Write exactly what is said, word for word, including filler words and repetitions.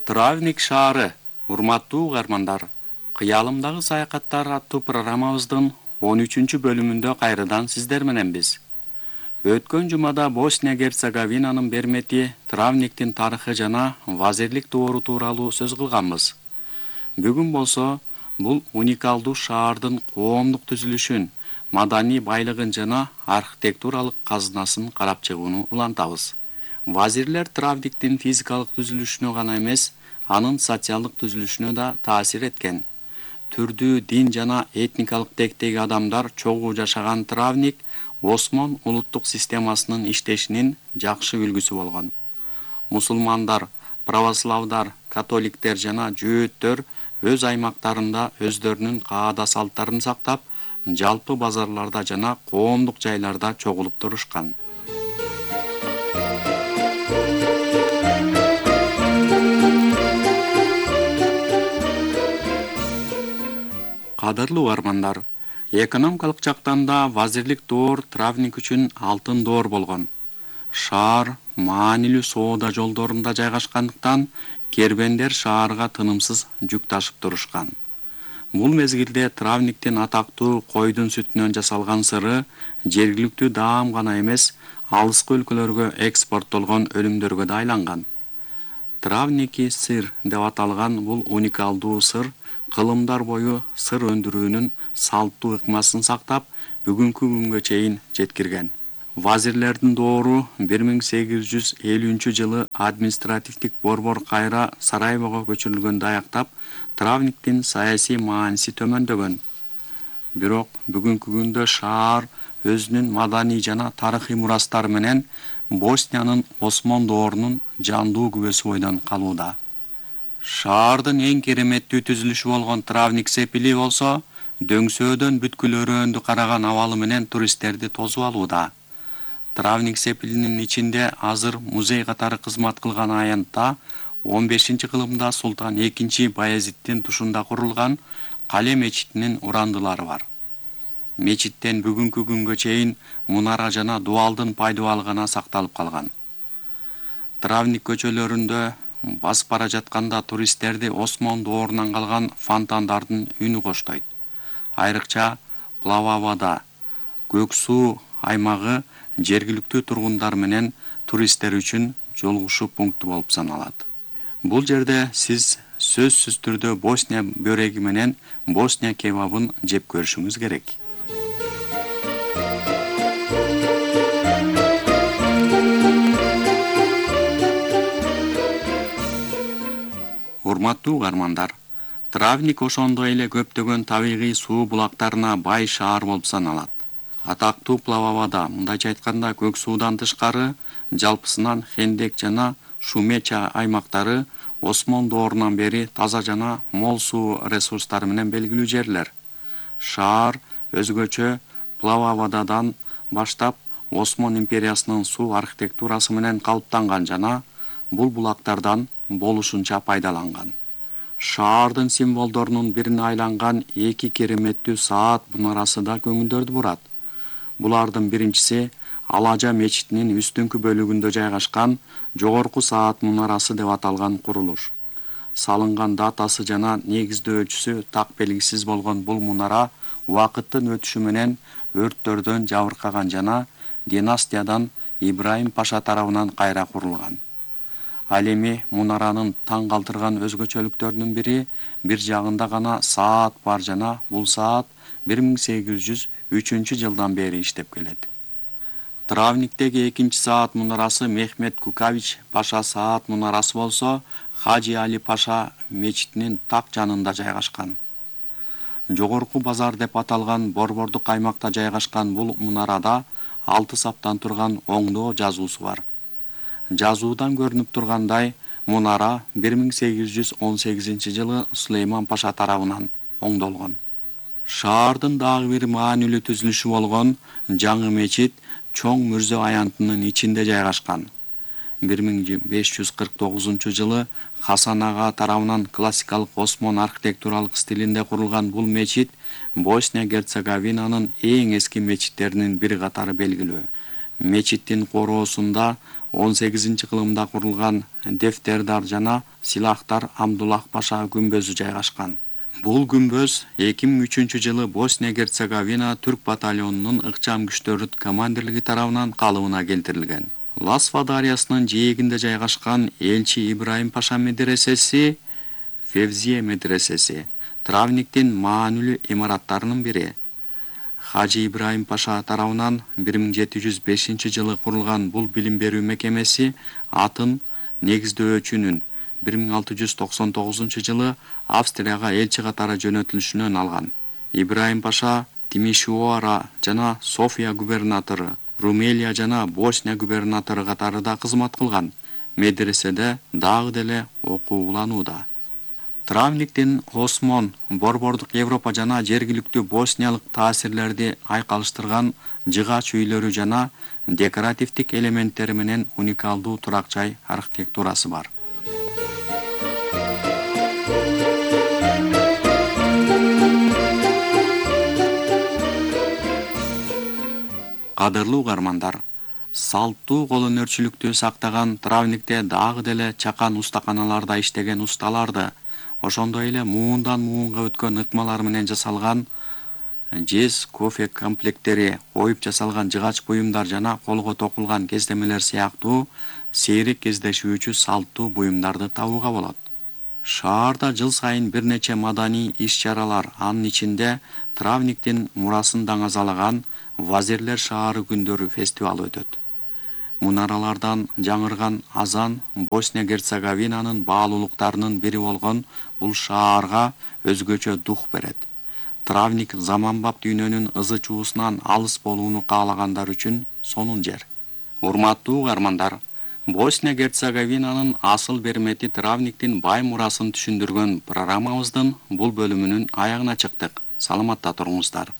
Травник шаары, урматтуу угармандар, кыялымдагы саякаттар аттуу программабыздын он үчүнчү бөлүмүндө кайрадан сиздер менен биз. Өткөн жумада Босния-Герцеговинанын бермети, Травниктин тарыхы жана вазирлик доору тууралуу сөз кылганбыз. Бүгүн болсо бул уникалдуу шаардын коомдук түзүлүшүн, маданий байлыгын жана архитектуралык казынасын карап чыгууну улантабыз. Вазирлер Травниктин физикалык түзүлүшүнө гана эмес, анын социалдык түзүлүшүнө да таасир эткен. Түрдүү дин жана этникалык тектеги адамдар чогуу жашаган Травник Осмон улуттук системасынын иштешинин жакшы үлгүсү болгон. Мусулмандар, православдар, католиктер жана жөөттөр өз аймактарында өздөрүнүн каада салттарын сактап, жалпы базарларда жана коомдук жайларда чогулуп турушкан. Кадырлуу угармандар, экономикалык жактан да вазирлик доор Травник үчүн алтын доор болгон. Шаар маанилүү соода жолдорунда жайгашкандыктан кербендер шаарга тынымсыз жүк ташып турушкан. Бул мезгилде Травниктин атактуу койдун сүтүнөн жасалган сыры жергиликтүү даам гана эмес, алыскы өлкөлөргө экспорттолгон өнүмдөргө да айланган. Травники сыр деп аталган бул уникалдуу сыр кылымдар бою сыр өндүрүүнүн салттуу ыкмасын сактап, бүгүнкү күнгө чейин жеткирген. Вазирлердин доору бир миң сегиз жүз элүүнчү жылы административдик борбор кайра Сараевого көчүрүлгөндө аяктап, Травниктин саясий мааниси төмөндөгөн. Бирок бүгүнкү күндө шаар өзүнүн маданий жана тарыхый мурастары менен Босниянын Осмон доорунун жандуу күбөсү бойдон калууда. Шаардын эң кереметтүү түзүлүшү болгон Травник сепили болсо, дөңсөөдөн бүткүл өрөөндү караган абалы менен туристтерди тосуп алууда. Травник сепилинин ичинде азыр музей катары кызмат кылган аянтта он бешинчи кылымда Султан экинчи Баязиттин тушунда курулган Кале мечитинин урандылары бар. Мечиттен бүгүнкү күнгө чейин мунара жана дуалдын пайдубалы гана сакталып калган. Травник көчөлөрүндө басып бара жатканда туристтерди Осмон доорунан калган фонтандардын үнү коштойт. Айрыкча Плававада көк суу аймагы жергиликтүү тургундар менен туристтер үчүн жолугушуу пункту болуп саналат. Бул жерде сиз сөзсүз түрдө Босния бөреги менен Босния кебабын жеп көрүшүңүз керек. Урматтуу угармандар, Травник ошондой эле көптөгөн табигый суу булактарына бай шаар болуп саналат. Атактуу Плававада, мындайча айтканда, көк суудан тышкары, жалпысынан Хендек жана Шумеча аймактары Осмон доорунан бери таза жана мол суу ресурстары менен белгилүү жерлер. Шаар өзгөчө Плававададан баштап Осмон империясынын суу архитектурасы менен калыптанган жана бул булактардан болушунча пайдаланган. Шаардын символдорунун бирине айланган эки кереметтүү саат мунарасы да көңүлдөрдү бурат. Булардын биринчиси Алажа мечитинин үстүңкү бөлүгүндө жайгашкан жогорку саат мунарасы деп аталган курулуш. Салынган датасы жана негиздөөчүсү так белгисиз болгон бул мунара убакыттын өтүшү менен өрттөрдөн жабыркаган жана династиядан Ибраим Паша тарабынан кайра курулган. Ал эми мунаранын таң калтырган өзгөчөлүктөрүнүн бири бир жагында гана саат бар жана бул саат бир миң сегиз жүз үчүнчү жылдан бери иштеп келет. Травниктеги экинчи саат мунарасы Мехмет Кукавич Паша саат мунарасы болсо, Хажи Али Паша мечитинин так жанында жайгашкан. Жогорку базар деп аталган борбордук аймакта жайгашкан бул мунарада алты саптан турган оңдоо жазуусу бар. Жазуудан көрүнүп тургандай, мунара бир миң сегиз жүз он сегизинчи жылы Сулейман Паша тарабынан оңдолгон. Шаардын дагы бир маанилүү түзүлүшү болгон жаңы мечит чоң мүрзө аянтынын ичинде жайгашкан. бир миң беш жүз кырк тогузунчу жылы Хасан ага тарабынан классикалык Осмон архитектуралык стилинде курулган бул мечит Босния-Герцеговинанын эң эски мечиттеринин бири катары белгилүү. Мечиттин короосунда он сегизинчи кылымда курулган дефтердар жана силахтар Абдуллах Паша күмбөзү жайгашкан. Бул күмбөз эки миң үчүнчү жылы Босния Герцеговина түрк батальонунун ыкчам күчтөрү командирлиги тарабынан калыбына келтирилген. Ласва дарыясынын жээгинде жайгашкан Элчи Ибраим Паша медресеси, Февзие медресеси Травниктин маанилүү имараттарынын бири. Хажи Ибраим Паша тарабынан бир миң жети жүз бешинчи жылы курулган бул билим берүү мекемеси атын негиздөөчүнүн бир миң алты жүз токсон тогузунчу жылы Австрияга элчи катары жөнөтүлүшүнөн алган. Ибраим Паша Тимишоара жана София губернатору, Румелия жана Босния губернатору катарында кызмат кылган. Медреседе дагы деле окуу уланууда. Травниктин Осмон, борбордук Европа жана жергиликтүү босниялык таасирлерди айкалыштырган жыгач үйлөрү жана декоративдик элементтери менен уникалдуу турак жай архитектурасы бар. Кадырлуу угармандар, салттуу кол өнөрчүлүктү сактаган Травникте дагы деле чакан устаканаларда иштеген усталарды, ошондой эле муундан муунга өткөн ыкмалар менен жасалган жез кофе комплекттери, оюп жасалган жыгач буюмдар жана колго токулган кездемелер сыяктуу сейрек кездешүүчү салттуу буюмдарды табууга болот. Шаарда жыл сайын бир нече маданий иш-чаралар, анын ичинде Травниктин мурасын даңазалаган Вазирлер шаары күндөрү фестивалы өтөт. Мунаралардан жаңырган азан Босния Герцеговинанын баалуулуктарынын бири болгон бул шаарга өзгөчө дух берет. Травник заманбап дүйнөнүн ызы чуусунан алыс болууну каалагандар үчүн сонун жер. Урматтуу угармандар, Босния Герцеговинанын асыл бермети Травниктин бай мурасын түшүндүргөн программабыздын бул бөлүмүнүн аягына чыктык. Саламатта туруңуздар.